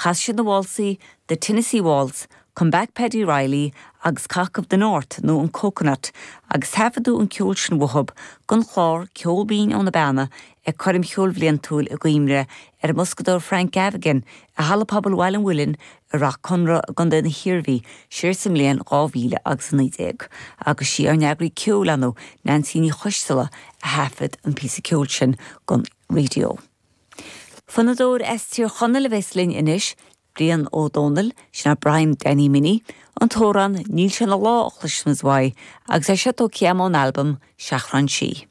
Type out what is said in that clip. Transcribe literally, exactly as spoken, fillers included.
Chas siad na válsaí The Tennessee Waltz, Come Back Paddy Reilly agus Cock of the North nó an Coconut agus taifeadadh an ceol sin uathub don chlár Ceol Binn ó na Beanna ag coirm cheoil bhliantúil i gcuimhne ar an mboscadóir Frank Gavigan i Halla Pobail Bhaile an Mhuilinn i Ráth Conra i gContae na hIarmhí siar sa mbliain dhá mhíle agus a naoi déag, agus sí ár n-eagraí ceoil ann Nancy Ní Choisteala a thaifead an píosa ceoil sin don raidió. Fonnadóir as Tír Chonaill a bheas linn anois, Brian Ó Dónaill, sin é Brian Danny Minnie, an t-amhrán Níl sé ina lá a chloisfimid uaidh, agus é seo tógtha ón albam Seachrán Sí.